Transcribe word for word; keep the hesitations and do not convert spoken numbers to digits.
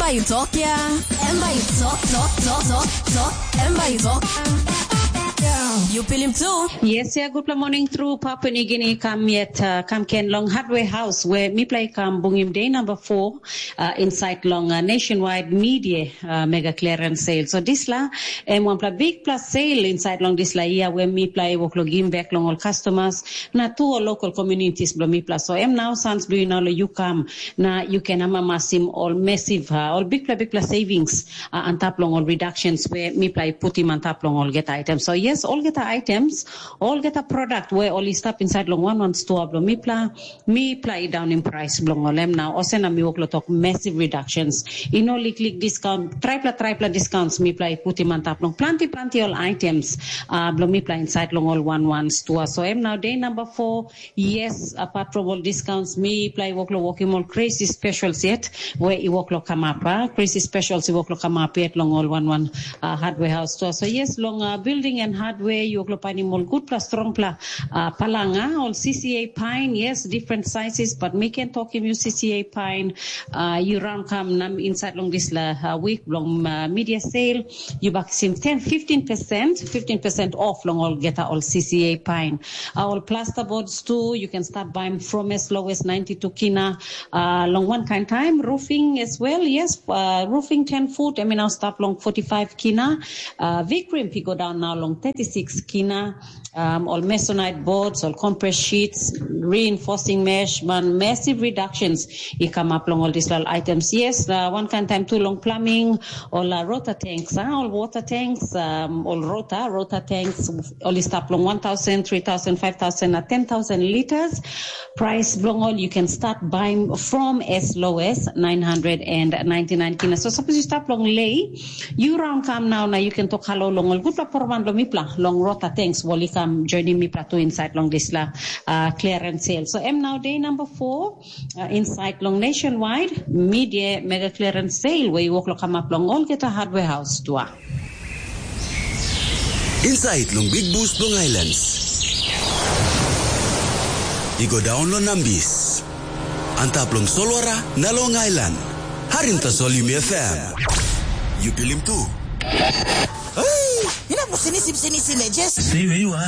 Bai yu tok ya. Em bai yu tok, tok, tok, tok, tok. Em bai yu tok. Yu pilim tu. Yes, ya, gutpela morning through Papua New Guinea. Kam yet, uh, kam ken long Hardware House, where mipela i kam bungim day number four, uh, inside long, uh, nationwide media, uh, mega clearance sale. So disla, em wanpela bigpela sale inside long disla year, where mipela i wok lo gim back long ol customers, na tu ol local communities blo mipela. So em nau sans blo yu nau lo yu kam, na yu ken amamasim ol massive, uh, ol bigpela, bigpela savings, uh, antap long ol reductions we mipela i putim antap long olgeta items. So yes, olgeta items, olgeta product we ol i stap inside long wan wan stua blo mipela, mipela i daunim price bilong ol em nau. Olsem na mi wok lo tok massive reductions. I no liklik discount, tripela, tripela discounts mipela i putim antap long planti, planti ol items, uh, blo mipela inside long ol wan wan stua. So em nau day number four, yes, apart from all discounts, mipela i wok lo wokim ol crazy specials yet, we i wok lo kamap, ah, crazy specials i wok lo kamap yet long ol wan wan, ah, hardware house store. So yes, long, ah, building and hardware, yu wok lo painim ol gutpela, strongpela, ah, palanga, ol C C A pine, yes, different sizes, but mi ken tokim yu C C A pine, ah, yu raun kam nam inside long disla, ah, week long, ah, media sale, yu baksim ten, fifteen percent, fifteen percent off long olgeta ol C C A pine. Uh, ol plasterboards tu, you can start buying from as low as ninety-two kina. Uh, long one kind time, roofing as well, yes, uh, roofing ten foot, I mean, I'll start long forty-five kina. Uh, Vikrim, go down now long thirty-six kina. Um, all masonite boards, all compress sheets, reinforcing mesh, man, massive reductions i come up long all these little items. Yes, uh, one kind time too long plumbing, all uh, rota tanks, uh, all water tanks, um, all rota, rota tanks, all is up long one thousand, three thousand, five thousand, uh, ten thousand liters. Price bilong all you can start buying from as low as nine hundred and ninety-nine kina. So suppose you start long lay, you round come now, now you can talk hello long all good for one long mipla, long rota tanks, wall you come joining mipla to inside long this la uh, clearance sale. So am now day number four, uh, inside long nationwide media mega clearance sale where you walk lo come up long all get a hardware house tua. Inside long Big Bus long Islands. I go down lo Nambis. Antap long Solwara na long Island. Harim tasol Yumi F M. You pilim tu. Hey, you know, sini sim sini sini just. Stay where you are.